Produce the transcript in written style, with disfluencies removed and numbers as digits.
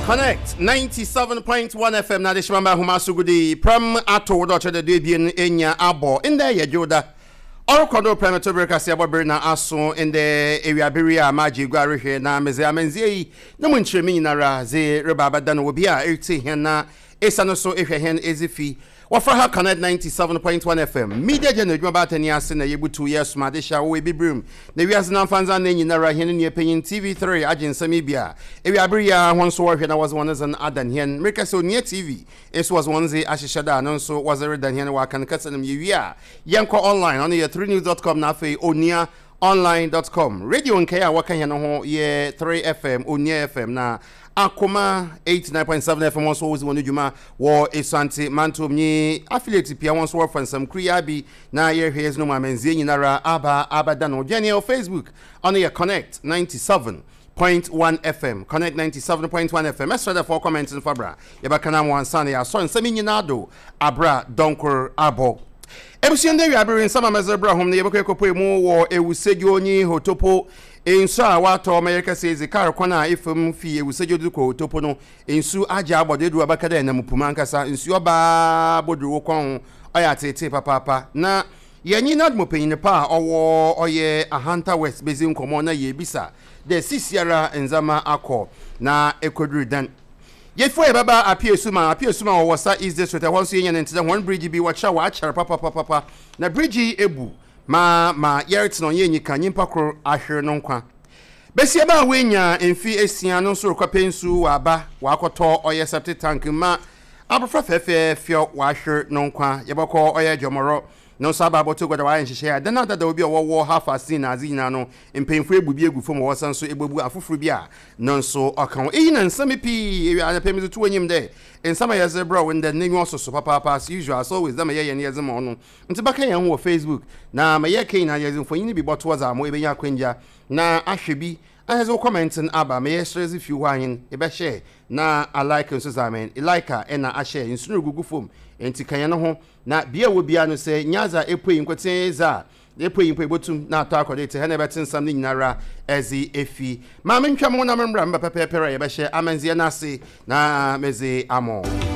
Connect 97.1 FM na adehyema mba ahoma so gudi pram ato wo dɛ ɔkyerɛ dɛ duebien enya abɔ ndɛ yɛ dwowda ɔrokɔ do prɛm to ber kaseɛbɔ ber na aso ndɛ ewiaber yi a magye egua rehwɛ na medze amandzɛɛ yi no mu nkyerɛmu nyinara dze reba abɛdan obi a eretsie hɛn na Esiane so ehwɛ hɛn edzifi. Wɔfrɛ ha Connect 97.1 FM. Media General edwuma baatan yi ase na yebutuw yɛ som adehye a wɔwɔ Ebibirim na wiadze n'amfandze anan nyinara. Hɛn nua panyin TV3 agye nsɛm yi bi a ewiaber yi ara hɔn so wɔrehwɛ na wɔdze hɔn dzen adan hɛn. Merekɛsɛ Onua TV so wɔdze hɔn dze ahyehyɛ do a no nso wɔdze redan hɛn wɔ Akan kasa no mu. Yewie a yɛnkɔ online, ɔno yɛ threnews dot com na afei Onua Online dot com. Radio nkae a wɔka hɛn ho yɛ 3FM, Onua FM na Akoma 89.7 FM hɔn so wodzi hɔn dwuma wɔ Esuantse Mantom nye affiliate pii a hɔn so wɔrefa nsɛm kor yi ara bi na yɛrehwɛ yɛdze no mu amandzɛɛ nyinara aba abɛda no. Dwɛn hɛn wɔ Facebook, ɔno yɛ Connect 97.1 FM, Connect 97.1 FM. Mɛserɛ dɛ fa wo comment no fa bra, yɛbɛka no ama wo ansaana yɛasɔr nsɛm yi nyinaa do aber a dɔnkor abɔ. Ebusua ndɛ ewiaber yi nsɛm a medze rebrɛ hom no yɛbɔkɔ ekopue mu wɔ Ewusedwo nye Hotopo nsu a ɔatɔ ma yɛrekɛsɛ edzi kaar kwan a efa mu fi Ewusedwo dze kɔ Hotopo no nsu agye abɔ do edur abɛka dɛ enam po mu ankasa nsu ɔba ara bodur wo kɔn ho ɔyɛ atseetsee papaapa na yɛnye NADMO panyin pa a ɔwɔ ɔyɛ Ahanta West bedzi nkɔmbɔ na yeebisa dɛ sisiara ndzɛmba akɔ na ekodur dɛn. Yefua yɛbɛba Apiesuma, Apiesuma wɔ Wassa East District, ɛhɔ nso yenya no nte dɛ hɔn bridge bi wɔkyerɛ wɔakyɛr papapapapa na bridge yi ebu ma ma yɛretsena ɔnnyɛ enyika, nyimpa kor ahwer no nkwa. Basiaba a oenya mfe esia no nso rokɔpɛ nsu ɔaba ɔakɔtɔ ɔyɛ septic tank mu ma abofra fɛɛfɛɛfɛw ɔahwer no nkwa. Yɛbɔkɔ ɔyɛ Jɔmɔrɔ No nso aba abɔto gua dɛ wɔayɛ nhyehyɛɛ a dan adadaw bi a ɔwɔ Half Assini na adze nyina no, mpanyimfo ebu bi egu famu a wɔsan so ebobu afofor bi a no nso ɔka ho. Iyi na nsɛm pii ewia anapa yi medze to w'enyim dɛ nsɛm a yɛdze rebrɛ wo ndɛ no n'enyiwa soso papaapa as usual, as always dɛ ma yɛyɛ no yɛdze ma wo no. Ntsi bɛka hɛn ho wɔ Facebook na ma yɛreka nyina yɛdze mfonyin bi bɔto hɔ dza ama ebenya akwangya na ahwɛ bi na edze wo comment no aba ma yɛserɛ dze fi hɔ a hɛn ebɛhyɛ na a like nso dza ma hɛn like a nna ahyɛ nsu no rugugu famu ntsi ka hɛn ho Na bea a ewɔ biara no, sɛ nya dza epuei nkotsee dze a, epuei mpo ebotum na atɔ akɔ do etse hɛn a ebɛtse nsɛm no nyinara dze efi. Ma mentwa moho na membra meba pɛpɛɛpɛr a yɛbɛhyɛ amandzɛɛ no ase na medze ama wo.